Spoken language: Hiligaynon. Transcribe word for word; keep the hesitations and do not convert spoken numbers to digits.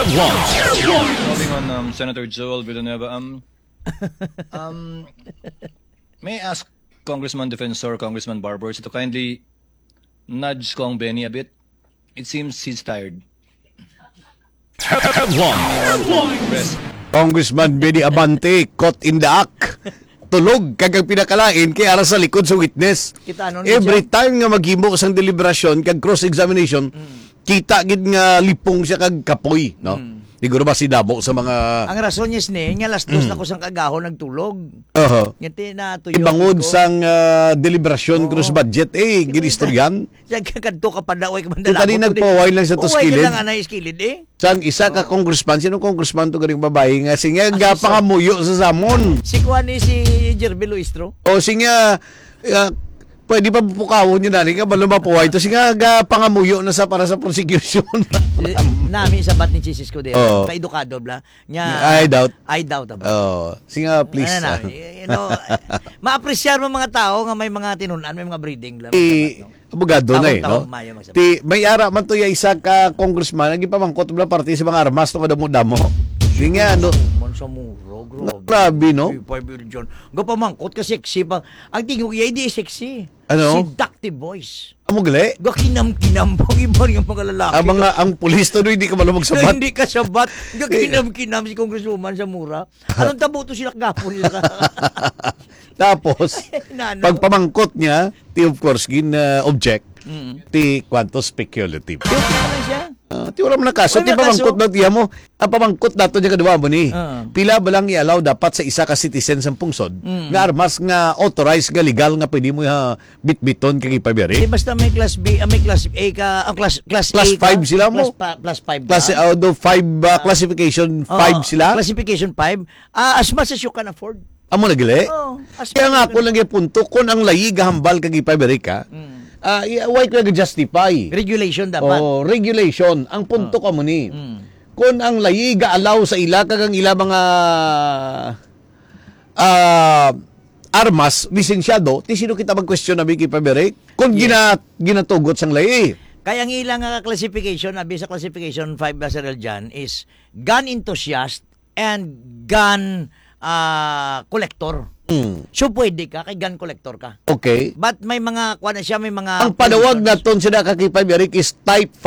Moving on, um, Senator Joel Villanueva, um, um, may I ask Congressman Defensor, Congressman Barbers, to kindly nudge Cong Benny a bit? It seems he's tired. Headlines. Congressman Benny Abante, caught in the act. Tulog, kag ang pinakalain kay ara sa likod sa witness. Kita nun, Every John? time nga maghimo sang deliberasyon kag cross-examination, Mm. kita gid nga lipong siya kag kapoy, no? Mm. Siguro ba si damo sa mga Ang rason niya sini, nga alas dos Mm. na ko sang kagahon nagtulog. Oho. Nga ti-, natuyo Ibangod ko. sang, ah, deliberasyon Oo. cross budget, eh, Sige, ginistoryan. Siya ka kadto ka pa daw, ay ka Kita di mandalabot, nagpaway lang sa to Uway ka skilid. lang, anay, skilid, eh. Sang isa ka Oo. congressman, sino congressman to ganing babae nga, sige, Ah, nga, si Sa- pangamuyo sa samon. Si kuan ni si Jerby Luistro. O, sige, ah, pwede pa pukawon yun, nani, nga, balo mapuway to. Sige, nga, pangamuyo na sa, para sa prosecution. Eh, nami sabat ni Chisis ko dira. Oo. Paedukado, bla. Nya, I doubt. I doubt, abla. Oo. Sige, please. Ano na, you know, maapresyar mo mga tao nga may mga tinunan, may mga breeding, bla. Eh, Sabat, no? Abogado na eh, Taon-taon no? mayo magsabi. Ti, may ara man to ya isa ka congressman, ang gipamangkot bla parte sa mga armas to kadamo-damo. Di nga, no? Man sa mura, grabe. Grabe, no? Di, five million. Gapamangkot ka sexy pa. Ang tingog iya, hindi sexy. Ano? Seductive voice. Amo gali? Gakinam-kinam pag iba yung mga lalaki. Ang mga, ang pulis to, no, hindi ka malo magsabat. Hindi ka sabat. Gakinam-kinam si Congresswoman sa mura. Anong tabo to sila kagapon nila? Tapos, Nano? pagpamangkot niya, ti of course, gin, uh, object, Mm. ti kwanto speculative. Yung ano siya? Ah, ti wala man nakaso, Wala ti pamangkot nakaso. na tiya mo. Ang pamangkot nato niya kadwa mo ni. Ah. Pila ba lang i-allow dapat sa isa ka citizen sa pungsod Mm. nga armas nga authorized nga legal nga pwede mo, ah, bitbiton kag ipabiri? Di basta may class B, ah, may class A ka, ah, class, class Class A ka, five sila mo. class pa-, class five Class, ka. ah, do five, ah, Ah. classification Oh, five sila? classification five. Ah, as much as you can afford. Amo na gali? Oh, as Kaya much nga as you ako can lang yung punto, kung ang layi gahambal kag ipabiri ka, Mm. ah, i-, why ko nag-justify? Regulation dapat. Oh, regulation. Ang punto Oh. ka mo ni. Mm. Kung ang layi ga-allow sa ila kag ang ila mga, ah, armas, lisensyado, ti sino kita mag-question na may kipabiri? Kung Yes. gina-, ginatugot sang layi. Kaya ang ila nga classification, abi sa classification five, Sir Eljan, is gun enthusiast and gun, ah, collector. Mm. So, pwede ka, kay gun collector ka. Okay. But may mga, kuha na siya, may mga Ang panawag provisions. naton sila kakipabiri is type five